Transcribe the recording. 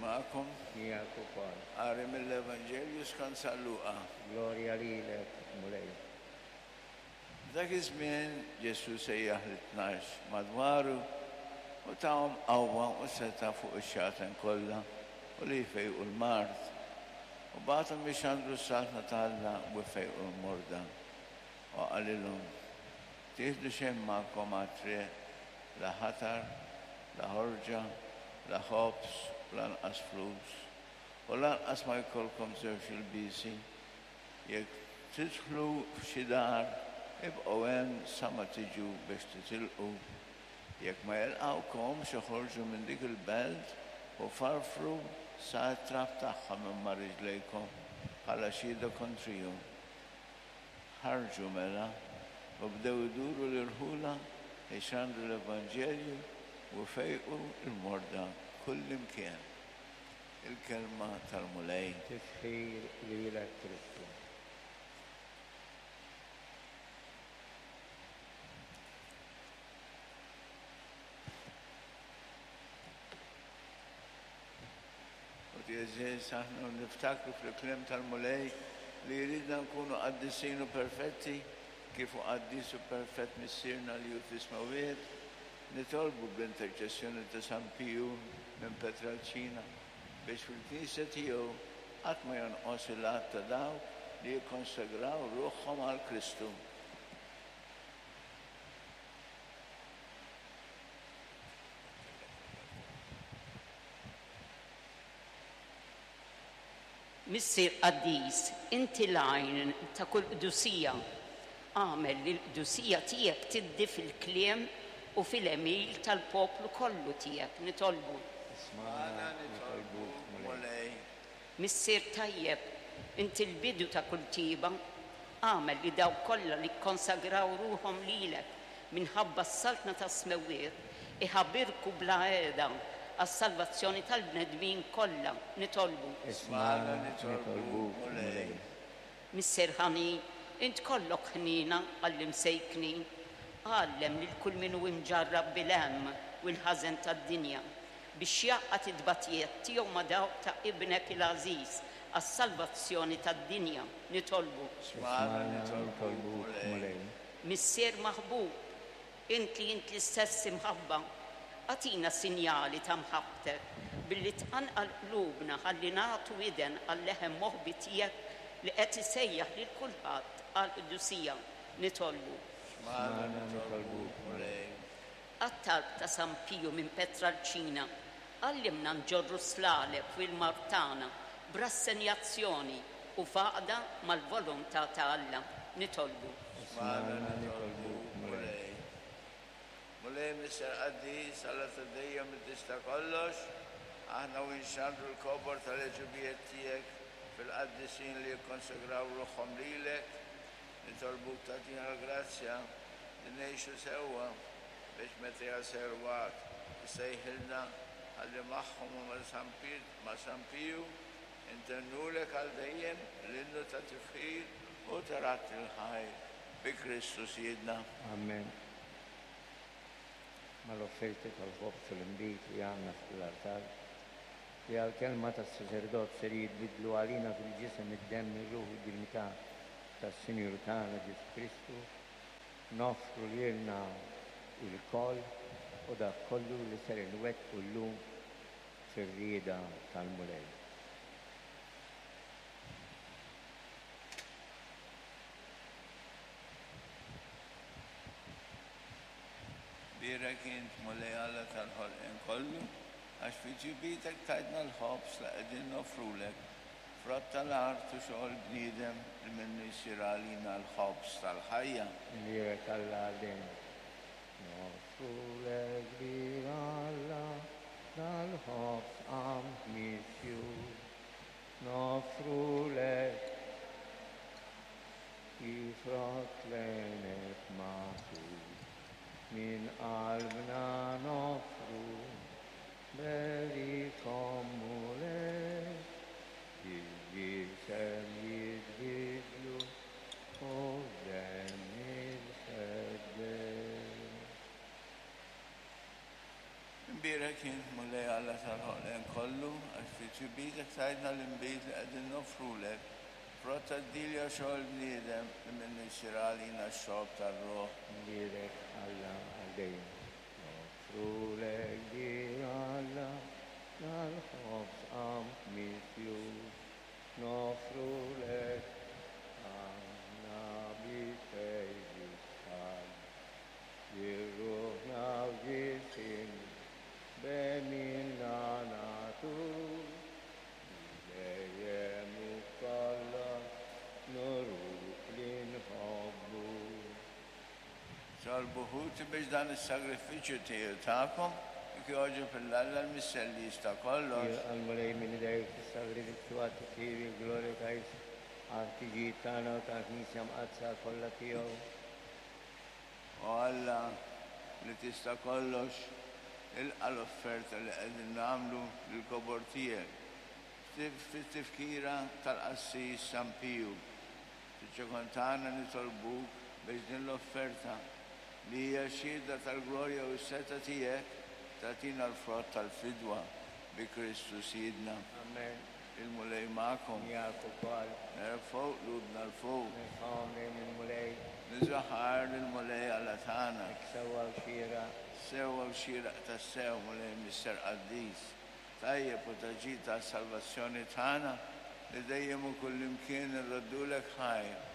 magħkom. Miegħek ukoll. Qari mill-Evanġelju skont San Luqa. Glorja lilek, Mulej. F'dak iż-żmien Ġesù sejjaħ lit-tnax madwaru u tahom qawwa u setgħa fuq ix-xjaten kollha u li jfejqu l-mard. U bagħathom ixandru s-Saltna ta' Alla u jfejqu l-morda. U qalilhom, Tieħdu xejn magħkom għat-triq, la ħatar, la ħorġa, la ħobż u lanqas flus, u lanqas ma jkollkom żewġ ilbiesi. Jekk tidħlu f'xi dar, ibqgħu hemm sa ma tiġu biex titilqu. Jekk ma jilqgħukomx, oħorġu minn dik il-belt u farfru sa t-trab tagħha minn ma' riġlejkom bħala xhieda kontrihom. Ħarġu mela, u bdew iduru l-irħula jxandru l-evanġelju u jfejqu l-morda kullimkien. Il-Kelma tal-Mulej. Tifħir lilek Kristu. Ħuti għeżież, aħna u niftakru fil-kliem tal-Mulej li jridna nkunu qaddisin u perfetti kif hu qaddis u perfett Missierna li hu fis-smewwiet, Nitolbu bl-interċessjoni ta' San Piju minn Petralċina biex fil-Knisja tiegħu qatt ma jonqos il-għadd ta' dawk li jikkonsagraw ruħhom għal Kristu. Missier qaddis, inti l-għajn ta' kull qdusija. Agħmel li l-qdusija tiegħek tiddi fil-kliem u fil-għemil tal-poplu kollu tiegħek, nitolbu. Ismagħna, nitolbuk, Mulej. Missier tajjeb, inti l-bidu ta' kull tjieba. Agħmel li dawk kollha li kkonsagraw ruħhom lilek minħabba s-Saltna tas-Smewwiet iħabirku bla heda għas-salvazzjoni tal-bnedmin kollha, nitolbu. Ismagħna, nitolbuk, Mulej. Missier ħanin, int kollok ħniena għall-imsejknin. Għallem lil kull min hu imġarrab bil-hemm u l-ħażen tad-dinja, biex jgħaqqad it-tbatijiet tiegħu ma' dawk ta' Ibnek il-għażiż għas-salvazzjoni tad-dinja, nitolbu. Ismagħna, nitolbuk, Mulej. Missier maħbub, int li int l-istess imħabba, agħtina sinjali ta' mħabbtek billi tqanqal qlubna ħalli nagħtu widen għal-leħen moħbi tiegħek li qed isejjaħ lil kulħadd għall-qdusija. Nitolbu. Smagħna nitolbuk, Mulej. Għat-talb ta' San Piju minn Petralċina, għallimna nġorru s-slaleb u l-mard tagħna b'rassenjazzjoni u f'għaqda mal-volontà ta' Alla. Nitolbu. Ismagħna nitolbuk, Mulej. Mulej Missier Qaddis, Alla ta' dejjem li tista' kollox, aħna u nxandru l-kobor tal-għeġubijiet tiegħek fil-qaddisin li jikkonsagraw ruħhom lilek, nitolbuk tagħtina l-grazzja li ngħixu sewwa biex meta jasal il-waqt issejħilna ħalli magħhom u ma' San ma' San Piju intennulek għal dejjem l-innu ta' tifħir u ta' radd il-ħajr bi Kristu Sidna. Amen. Mal-offerti tal-ħobż u l-inbid li għandna fuq l-artal, li għall-kelma tas-saċerdot ser jitbiddlu għalina fil-ġisem, id-demm, ir-ruħ u d-dinjità tas-Sinjur tagħna Ġesù Kristu, noffru lilna lkoll u dak kollu li ser inwettqu llum fir-rieda tal-Mulej. Bierek int, Mulej Alla tal-ħolqien kollu, għax fi tjubitek tajtna l-ħobż li qegħdin noffrulek, frott tal-art u xogħol bniedem li minnu jsir għalina l-ħobż tal-ħajja. Imbierek Alla għal dejjem. Noffrulek kbir Alla dal-ħobż qamħ misjur. Noffrulek kif frott l-għeneb magħsur. Minn qalbna noffru, berikhom Mulej, fil-ġisem jitbiddlu u f'demm il-Feddej. Lilek int, Mulej Alla tal-ħolqien kollu, għax fi tjubietek tajtna l-inbid li qegħdin noffrulek, frott tad-dilja u xogħol il-bniedem li minnu jsir għalina x-xorb tar-ruħ. Lilek, Alla, għal dejjem. Noffrulek dir Alla dal-ħobż qamħ misjur. Noffrulek aħna bi fejdi s-salb. Lil ruħna u ġisimna b'għemilna nagħtuk, li dejjem u f'kollox nuruk li nħobbuk. Tolbu ħuti biex dan is-sagrifiċċju tiegħi u tagħkom jogħġob 'il Alla l-Missier li jista' kollox. Jilqa' l-Mulej minn idejk is-sagrifiċċju għat-tifħir u l-glorja ta' ismu, għall-ħtiġijiet tagħna u tal-Knisja Mqaddsa kollha tiegħu. O Alla, li tista' kollox, ilqa' l-offerta li qegħdin nagħmlu lill-kobor tiegħek, fit-tifkira tal-qassis San Piju. Fiċ-ċokon tagħna nitolbuk biex din l-offerta, li hija xhieda tal-glorja u s-setgħa tiegħek, tagħtina l-frott tal-fidwa bi Kristu Sidna. Amen. Il-Mulej magħkom. Miegħek ukoll. Nerfgħu qlubna 'l fuq. Nerfgħuhom lejn il-Mulej. Niżaħar lill-Mulej Alla tagħna. Hekk sewwa u xieraq. Sewwa u xieraq tassew, Mulej Missier Qaddis, tajjeb u ta' ġid għas-salvazzjoni tagħna, li dejjem u kullimkien irroddulek ħajr.